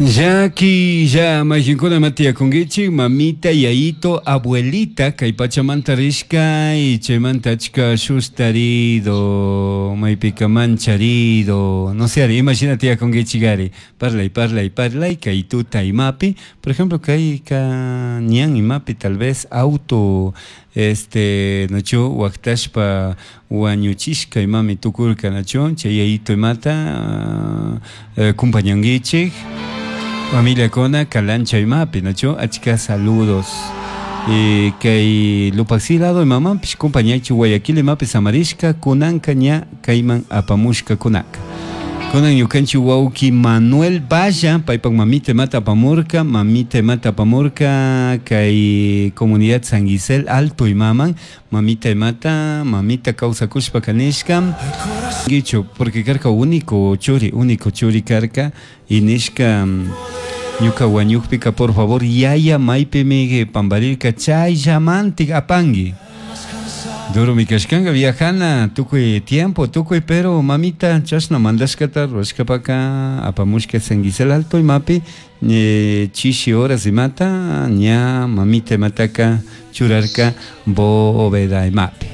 Llaki ya mayqinkuna ima tiyakunkichik mamita, yayito, abuelita kay pachamanta rishka y chaymanta achka sustarido, maypika mancharido, no sé ari imashina tiyakunkichik ari parlay parlay parlay kay tuta imapi, por ejemplo kayka ñan imapi tal vez auto este nachu waktashpa wañuchishka imami tukurka nachu chay yayito imata kumpañankichik familiakuna kalancha imapi nachu achka saludos y kay Lupaxi lado imamanpish kumpañaychik Guayaquil imapi samarishka kunanka ña kayman apamushkakunaka. Kunan ñukanchik wawki Manuel Valla paypak mamita imata apamurka, mamita imata apamurka kay comunidad San Gisel Alto imaman, mamita imata, mamita kawsakushpaka nishka, guicho porque karka único churi, único churi karka y nishka ñuka wañukpika por favor yaya maypimi pamparirka chayllamantik apanki. Duro mi kashkanka viajana tukuy tiempo tukuy pero mamita chashna mandashkata rurashkapaka apamushka San Gisel Alto imapi chishi horas imata ña mamita imataka churarka bóveda imapi.